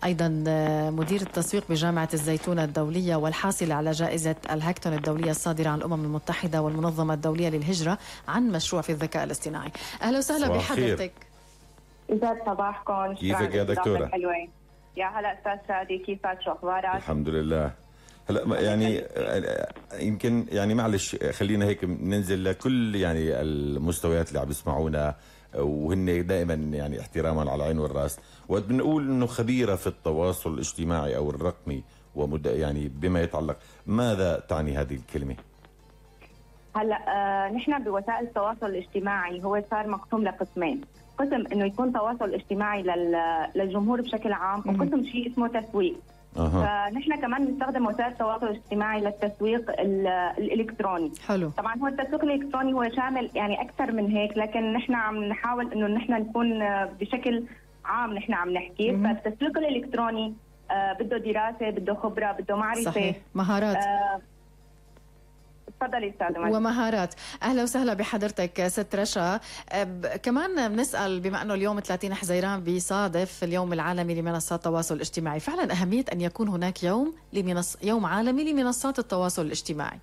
أيضا مدير التسويق بجامعة الزيتونة الدولية والحاصل على جائزة الهاكتون الدولية الصادرة عن الأمم المتحدة والمنظمة الدولية للهجرة عن مشروع في الذكاء الاصطناعي. أهلا وسهلا بحضرتك. يسعد صباحكم. كيفك يا دكتورة؟ حلوين. يا هلا أستاذ شادي، كيفك؟ شو أخبارك؟ الحمد لله. هلا يعني يمكن يعني معلش خلينا هيك ننزل لكل يعني المستويات اللي عم يسمعونا، وهن دائما يعني احتراما على العين والراس. وقت بنقول انه خبيره في التواصل الاجتماعي او الرقمي يعني بما يتعلق، ماذا تعني هذه الكلمه؟ هلا نحن بوسائل التواصل الاجتماعي هو صار مقسوم لقسمين، قسم انه يكون تواصل اجتماعي للجمهور بشكل عام، وقسم شيء اسمه تسويق. فنحن كمان بنستخدم وسائل التواصل الاجتماعي للتسويق الالكتروني. حلو. طبعا هو التسويق الالكتروني هو شامل يعني اكثر من هيك، لكن نحن عم نحاول انه نحن نكون بشكل عام نحن عم نحكي. فالتسويق الالكتروني بده دراسه، بده خبره، بده معرفه، صحيح، مهارات. تفضلي استاذ ومهارات. اهلا وسهلا بحضرتك ست رشا. كمان بنسال، بما انه اليوم 30 حزيران بيصادف اليوم العالمي لمنصات التواصل الاجتماعي، فعلا اهميه ان يكون هناك يوم عالمي لمنصات التواصل الاجتماعي.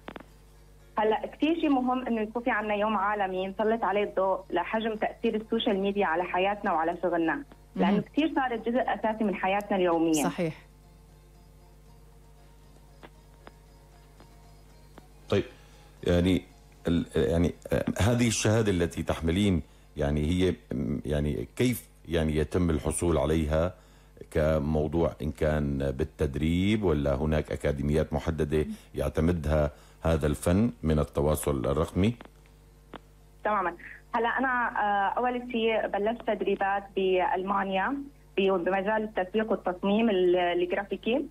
هلا كثير شيء مهم انه يكون في عندنا يوم عالمي نسلط عليه الضوء لحجم تاثير السوشيال ميديا على حياتنا وعلى شغلنا، لانه كثير صارت جزء اساسي من حياتنا اليوميه. صحيح. طيب يعني هذه الشهادة التي تحملين يعني هي يعني كيف يعني يتم الحصول عليها كموضوع، إن كان بالتدريب ولا هناك أكاديميات محددة يعتمدها هذا الفن من التواصل الرقمي؟ تماما. هلا أنا أول شيء بلشت تدريبات بألمانيا بمجال التسويق والتصميم الجرافيكي.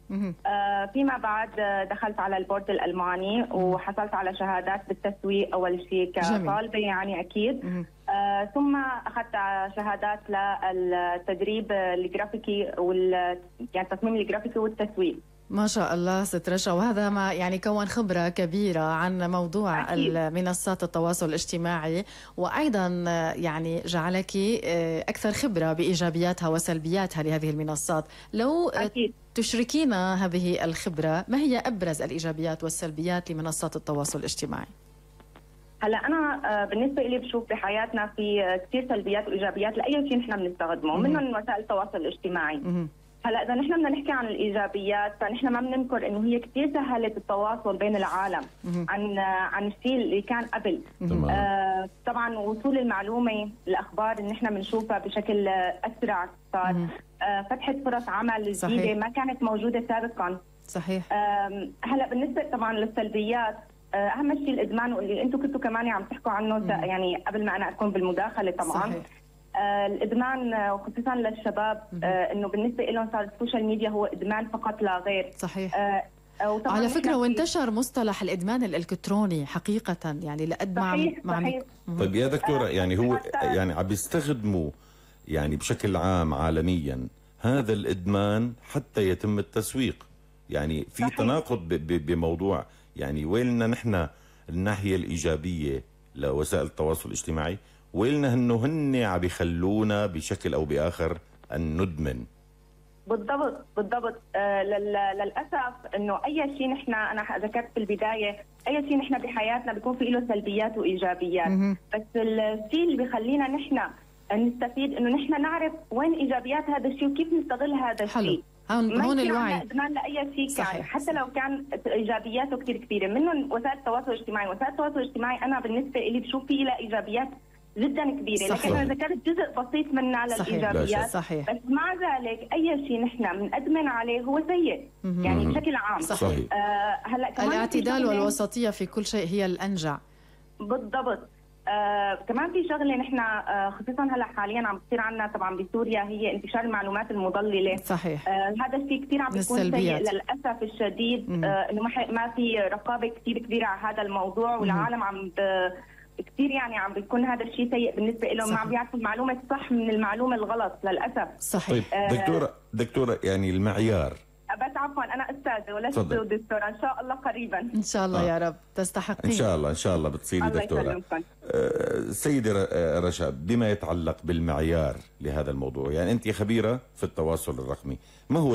فيما بعد دخلت على البورد الألماني وحصلت على شهادات بالتسويق أول شيء كطالبة يعني أكيد. ثم أخذت شهادات للتدريب الجرافيكي يعني التصميم الجرافيكي والتسويق. ما شاء الله ست رشا، وهذا ما يعني كون خبرة كبيرة عن موضوع منصات التواصل الاجتماعي، وأيضا يعني جعلك أكثر خبرة بإيجابياتها وسلبياتها لهذه المنصات. لو تشركينا هذه الخبرة، ما هي أبرز الإيجابيات والسلبيات لمنصات التواصل الاجتماعي؟ هلا أنا بالنسبة لي بشوف بحياتنا في كثير سلبيات وإيجابيات لأي شيء نحن بنستخدمه، منهم وسائل التواصل الاجتماعي. هلا اذا نحن بدنا نحكي عن الايجابيات، فنحن ما بننكر انه هي كثير سهلت التواصل بين العالم عن الشيء اللي كان قبل. طبعا وصول المعلومه، الاخبار اللي نحن بنشوفها بشكل اسرع صار. فتحت فرص عمل جديده ما كانت موجوده سابقا. صحيح. هلا بالنسبه طبعا للسلبيات، اهم شيء الادمان، واللي انتم كنتوا كمان عم تحكوا عنه يعني قبل ما انا اكون بالمداخله. طبعا صحيح. الادمان وخصوصا للشباب، انه بالنسبه لهم صار السوشيال ميديا هو ادمان فقط لا غير. صحيح. على فكره وانتشر مصطلح الادمان الالكتروني حقيقه، يعني لقد صحيح. طيب يا دكتوره، يعني هو يعني عم بيستخدموا يعني بشكل عام عالميا هذا الادمان حتى يتم التسويق، يعني في صحيح. تناقض بموضوع، يعني ويلنا نحن الناحيه الايجابيه لوسائل التواصل الاجتماعي، ويلنا انه هن عم يخلونا بشكل او باخر ان ندمن. بالضبط. للاسف انه اي شيء نحن، انا ذكرت في البدايه، اي شيء نحن بحياتنا بيكون في له سلبيات وايجابيات. بس الشيء اللي بيخلينا نحن نستفيد انه نحن نعرف وين ايجابيات هذا الشيء وكيف نستغل هذا الشيء. هون الوعي. ادمان لاي شيء كان، حتى لو كان ايجابياته كثير كبيره، منهم وسائل التواصل الاجتماعي. وسائل التواصل الاجتماعي انا بالنسبه لي بشوف فيه لها ايجابيات جدا كبيره، لكن انا ذكرت جزء بسيط منها للايجابيات. صحيح. بس مع ذلك اي شيء نحن بنأدمن عليه هو سيء يعني بشكل عام. صحيح. هلا كمان الاعتدال والوسطيه في كل شيء هي الانجع. بالضبط. كمان في شغله نحن خصوصا هلا حاليا عم بتصير عندنا طبعا بسوريا، هي انتشار المعلومات المضلله. صحيح. هذا الشيء كثير عم بيكون سيء للاسف الشديد. انه ما في رقابه كثير كبيره على هذا الموضوع، والعالم عم كثير يعني عم بيكون هذا الشيء سيء بالنسبه لهم. ما عم بيعرفوا المعلومه الصح من المعلومه الغلط للاسف. صحيح. طيب دكتوره يعني المعيار، بس عفوا انا استاذه ولست دكتوره، ان شاء الله قريبا ان شاء الله. يا رب تستحقين. ان شاء الله بتصيري دكتوره. سيدي رشا، بما يتعلق بالمعيار لهذا الموضوع، يعني انت خبيره في التواصل الرقمي، ما هو